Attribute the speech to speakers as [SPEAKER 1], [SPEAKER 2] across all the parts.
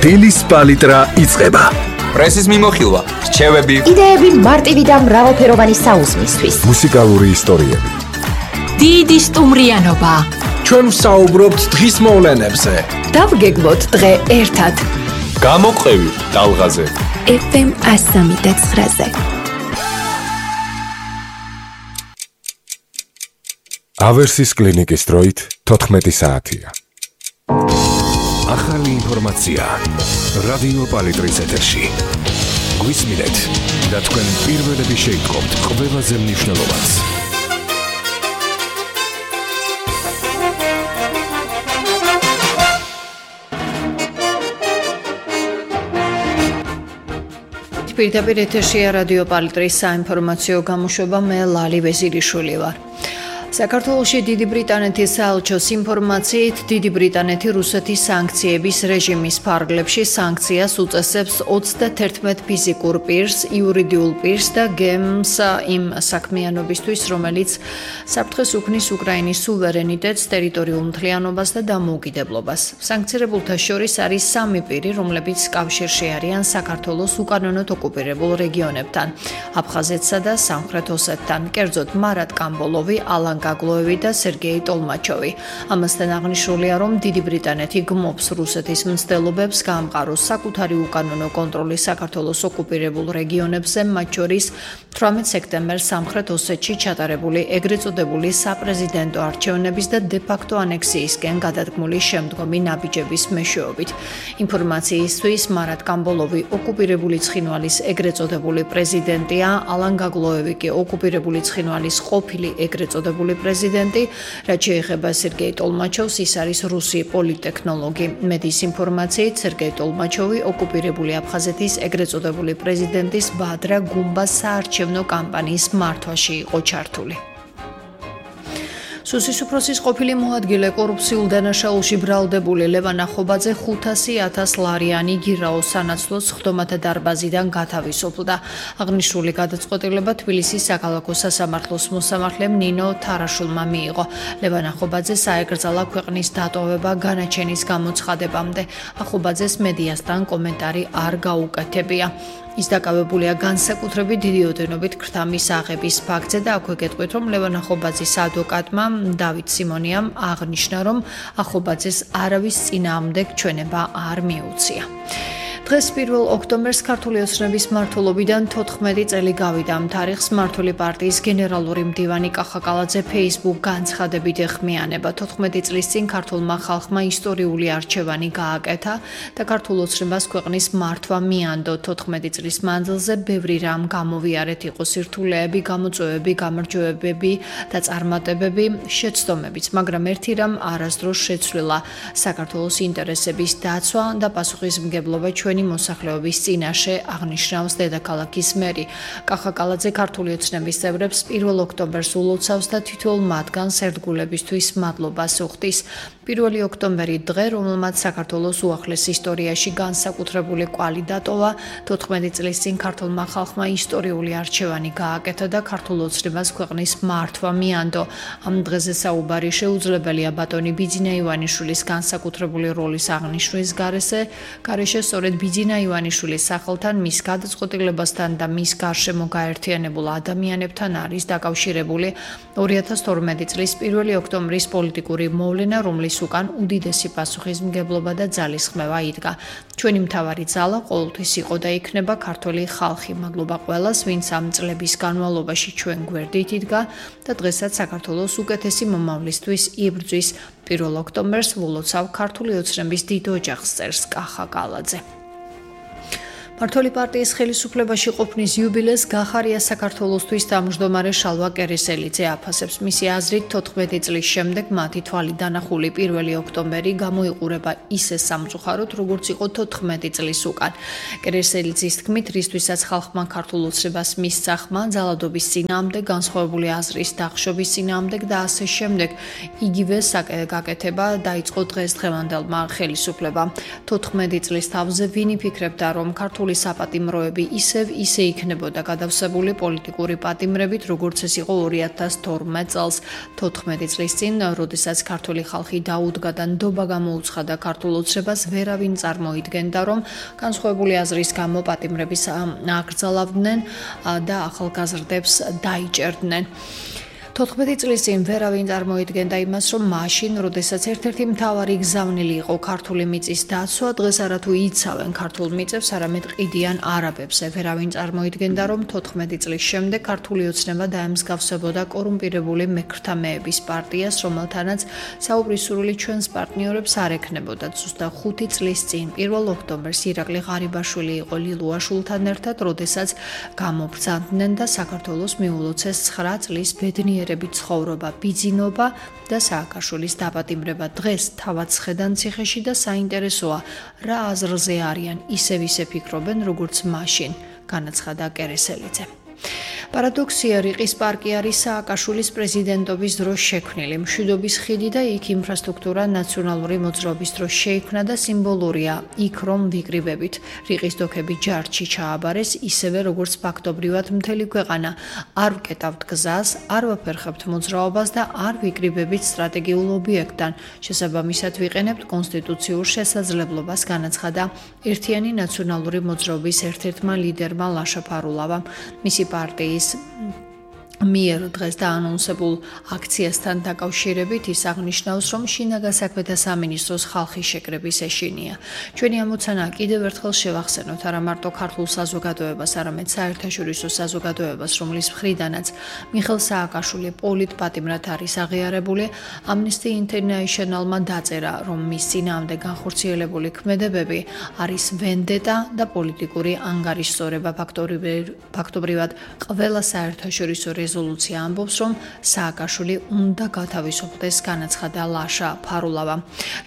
[SPEAKER 1] დილის პალიტრა იწყება.
[SPEAKER 2] პრესის მიმოხილვა, რჩევები,
[SPEAKER 3] იდეები მარტივი და მრავალფეროვანი საუზმისთვის.
[SPEAKER 1] მუსიკალური ისტორიები.
[SPEAKER 4] დიდი სტუმრიანობა.
[SPEAKER 5] ჩვენ ვსაუბრობთ დღის მოვლენებზე.
[SPEAKER 4] დავგეგმოთ დღე ერთად.
[SPEAKER 2] გამოყევი ტალღაზე.
[SPEAKER 4] FM 103.9-ზე.
[SPEAKER 1] ავერსის კლინიკის დროით 14 საათია. ახალი ინფორმაცია რადიო პალიტრის ეთერში. გვისმინეთ და თქვენ პირველები შეიტყობთ ყველაზე მნიშვნელოვანს.
[SPEAKER 6] პირდაპირ ეთერშია რადიო პალიტრის საინფორმაციო გამოშვება, მე ლალი ვეზირიშვილი ვარ. საქართველოში დიდი ბრიტანეთის საელჩოს ინფორმაციით, დიდი ბრიტანეთი რუსეთის სანქციების რეჟიმის ფარგლებში სანქციას უწესებს 31 ფიზიკურ პირს, იურიდიულ პირს და გემს იმ საქმიანობისთვის, რომელიც საფრთხეს უქმნის უკრაინის სუვერენიტეტს, ტერიტორიულ მთლიანობას და დამოუკიდებლობას. სანქცირებულთა შორის არის 3 პირი, რომლებიც კავშირში არიან საქართველოს უკანონოდ ოკუპირებულ რეგიონებთან, აფხაზეთსა და სამხრეთ ოსეთთან, კერძოდ მარატ კამბოლოვი, ალან გაგლოევი და სერგეი ტოლმაჩოვი. ამასთან აღნიშნულია, რომ დიდი ბრიტანეთი გმობს რუსეთის მცდელობებს გაამყაროს საკუთარი უკანონო კონტროლი საქართველოს ოკუპირებულ რეგიონებზე, მათ შორის 18 სექტემბერს სამხრეთ ოსეთში ჩატარებული ეგრეთ წოდებული საპრეზიდენტო არჩევნების და დე-ფაქტო ანექსიისკენ გადადგმული შემდგომი ნაბიჯების მეშვეობით. ინფორმაციისთვის, მარატ კამბოლოვი ოკუპირებული ცხინვალის ეგრეთ წოდებული პრეზიდენტია, ალან გაგლოევი კი ოკუპირებული ცხინვალის ყოფილი ეგრეთ წოდებული პრეზიდენტი, რაც შეეხება სერგეი ტოლმაჩოვს, ის არის რუსი პოლიტექნოლოგი. მედიის ინფორმაციით, სერგეი ტოლმაჩოვი ოკუპირებული აფხაზეთის ეგრეთ წოდებული პრეზიდენტის ბადრა გუმბას საარჩევნო კამპანიის მართვაში იყო ჩართული. სუსის უფროსის ყოფილი მოადგილე კორუფციულ დანაშაულში ბრალდებული ლევან ახობაძე 500,000 ლარიანი გირაოს სანაცვლოდ სხდომათა დარბაზიდან გათავისუფლდა. აღნიშნული გადაწყვეტილება თბილისის საქალაქო სასამართლოს მოსამართლემ ნინო თარაშულმა მიიღო. ლევან ახობაძეს აეკრძალა ქვეყნის დატოვება განაჩენის გამოცხადებამდე. ახობაძეს მედიასთან კომენტარი არ გაუკეთებია. ის დაკავებულია განსაკუთრებით დიდი ოდენობით ქრთამის აღების ფაქტზე და აქვე გეტყვით, რომ ლევან ახობაძის ადვოკატმა დავით სიმონიამ აღნიშნა, რომ ახობაძეს არავის წინააღმდეგ ჩვენება არ მიუწია. დღეს 1 ოქტომბერს ქართული ოცნების მმართველობიდან 14 წელი გავიდა. ამ თარიღს მმართველი პარტიის გენერალური მდივანი კახაკალაძე Facebook განცხადებით ეხმიანება. 14 წლის წინ ქართულმა ხალხმა ისტორიული არჩევანი გააკეთა და ქართულ ოცნებას ქვეყნის მართვა მიანდო. 14 წლის მანძილზე ბევრი რამ გამოვიარეთ, იყო სირთულეები, გამოწვევები, გამარჯვებები და წარმატებები, შეცდომებიც, მაგრამ ერთი რამ არასდროს შეცვლილა: საქართველოს ინტერესების დაცვა და პასუხისმგებლობა მოსახლეობის წინაშე, აღნიშნავს დედაქალაქის მერი. კახაკალაძე ქართული ოცნების წევრებს 1 ოქტომბერს ულოცავს და თითოეულ მათგანს ერთგულებისთვის მადლობას უხდის. 1 ოქტომბერი დღე, რომელმაც საქართველოს უახლეს ისტორიაში განსაკუთრებული კვალი დატოვა, 14 წლის წინ ქართულმა ხალხმა ისტორიული არჩევანი გააკეთა და ქართულ ოცნებას ქვეყნის მართვა მიანდო. ამ დღეზე საუბარი შეუძლებელია ბატონი ბიძინა ივანიშვილის განსაკუთრებული როლის აღნიშვნის გარეშე, სწორედ ბიძინა ივანიშვილის სახელთან, მის გადაწყვეტილებასთან და მის გარშემო გაერთიანებულ ადამიანებთან არის დაკავშირებული 2012 წლის 1 ოქტომბრის პოლიტიკური მოვლენა, რომლის უკან უდიდესი პასუხისმგებლობა და ძალისხმევა იდგა. ჩვენი მთავარი ძალა ყოველთვის იყო და იქნება ქართველი ხალხი. მადლობა ყველას, ვინც ამ წლების განმავლობაში ჩვენ გვერდით იდგა და დღესაც საქართველოს უკეთესი მომავლისთვის იბრძვის. 1 ოქტომბერს ვლოცავ ქართული ოცნების დიდ ოჯახს, წერს კახაკალაძე. მმართველი პარტიის ხელისუფლებაში ყოფნის იუბილეს გახარია საქართველოსთვის თავმჯდომარე შალვა კერესელიძე აფასებს. მისი აზრით, 14 წლის შემდეგ მათი თვალი დანახული 1 ოქტომბერი გამოიყურება ისე სამწუხაროდ, როგორც იყო 14 წლის უკან. კერესელიძის თქმით, რისთვისაც ხალხმა ქართულ ოცნებას მისცა ხმა, ძალადობის წინააღმდეგ, განსხვავებული აზრის დახშობის წინააღმდეგ და ასე შემდეგ, იგივე გაკეთება დაიწყო დღესდღევანდელმა ხელისუფლებამ. 14 წლის თავზე ვინ იფიქრებდა, რომ ქართული ქართული საპატიმროები ისე იქნებოდა გადავსებული პოლიტიკური პატიმრებით, როგორც ეს იყო 2012 წელს, 14 წლის წინ, როდესაც ქართული ხალხი დაუდგა და ნდობა გამოუცხადა ქართულ ოცნებას, ვერავინ წარმოიდგენდა, რომ განსხვავებული აზრის გამო პატიმრების აკრძალავდნენ და ახალგაზრდებს დაიჭერდნენ. 14 წლის წინ ვერავინ წარმოიდგენდა იმას, რომ მაშინ, როდესაც ერთ-ერთი მთავარი გზავნილი იყო ქართული მიწის დაცვა, დღეს არათუ იცავენ ქართულ მიწებს, არამედ ყიდიან არაბებს. ვერავინ წარმოიდგენდა, რომ 14 წლის შემდეგ ქართული ოცნება დაემსგავსებოდა კორუმპირებული მექრთამეების პარტიას, რომელთანაც საუბრის სურვილი ჩვენს პარტნიორებს არ ექნებოდა. ზუსტად 5 წლის წინ, 1 ოქტომბერს ირაკლი ღარიბაშვილი იყო ლილუაშვილთან ერთად, როდესაც გამობრძანდნენ და საქართველოს მიულოცეს 9 წლის ბედნიერი ცხოვრობა, ბიძინობა და სააკაშვილის დაპატიმრება. დღეს თავად ხედან ციხეში და საინტერესოა, რა აზრზე არიან, ისევ ფიქრობენ, როგორც მაშინ, განაცხადა კერესელიძე. პარადოქსია, რიყის პარკი არის სააკაშვილის პრეზიდენტობის დროს შექმნილი. მშვიდობის ხიდი და იქ ინფრასტრუქტურა ნაციონალური მოძრაობის დროს შეიქმნა და სიმბოლურია იქ რომ ვიკრიბებით. რიყის დოქები ჯარში ჩააბარეს, ისევე როგორც ფაქტობრივად მთელი ქვეყანა. არ ვკეტავთ გზას, არ ვაფერხებთ მოძრაობას და არ ვიკრიბებით სტრატეგიულ ობიექტთან. შესაბამისად ვიყენებთ კონსტიტუციურ შესაძლებლობას, განაცხადა ერთიანი ნაციონალური მოძრაობის ერთ-ერთმა ლიდერმა ლაშა ფარულავამ. მისი პარტიის მიერ დღეს დაანონსებულ აქციასთან დაკავშირებით ის აღნიშნავს, რომ შინაგან საქმეთა სამინისტროს ხალხის შეკრების ეშინია. ჩვენი ამოცანა კიდევ ერთხელ შევახსენოთ არა მარტო ქართულ საზოგადოებას, არამედ საერთაშორისო საზოგადოებას, რომლის მხრიდანაც მიხეილ სააკაშვილი პოლიტპატიმრად არის აღიარებული. Amnesty International-მა დაწერა, რომ მის წინააღმდეგ განხორციელებული ქმედებები არის ვენდეტა და პოლიტიკური ანგარიშსწორება. ფაქტობრივად ყველა საერთაშორისო რეზოლუცია ამბობს, რომ სააკაშვილი უნდა გათავისუფლდეს, განაცხადა ლაშა ფარულავა.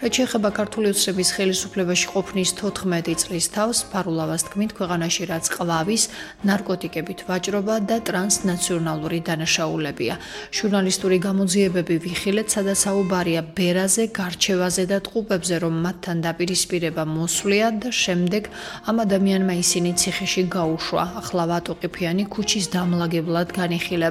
[SPEAKER 6] რაც შეეხება ქართული ოცნების ხელისუფლებაში ყოფნის 14 წლის თავს, ფარულავას თქმით, ქვეყანაში რაც ყვავის, ნარკოტიკებით ვაჭრობა და ტრანსნაციონალური დანაშაულებია. ჟურნალისტური გამოძიებები ვიხილეთ, სადაც საუბარია ბერაზე, გარჩევაზე და ტყუპებზე, რომ მათთან დაპირისპირება მოსვლია და შემდეგ ამ ადამიანმა ისინი ციხეში გაუშვა. ახლა ვატოყიფიანი ქუჩის დამლაგებლად განიხილება.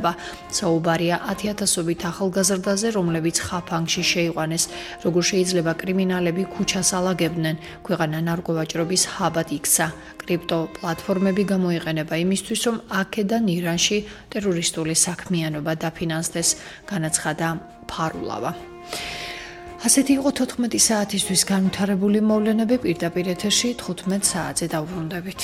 [SPEAKER 6] საუბარია 10,000-ობით ახალგაზრდაზე, რომლებიც ხაფანგში შეიყვანეს. როგორ შეიძლება კრიმინალები ქუჩას ალაგებდნენ? ქვეყანა ნარკოვაჭრობის ჰაბად იქცა. კრიპტო პლატფორმები გამოიყენება იმისთვის, რომ აქედან ირანში ტერორისტული საქმიანობა დაფინანსდეს, განაცხადა ფარულავა. ასეთი იყო 14 საათისთვის განვითარებული მოვლენები. პირდაპირ ეთერში 15 საათზე დავბრუნდებით.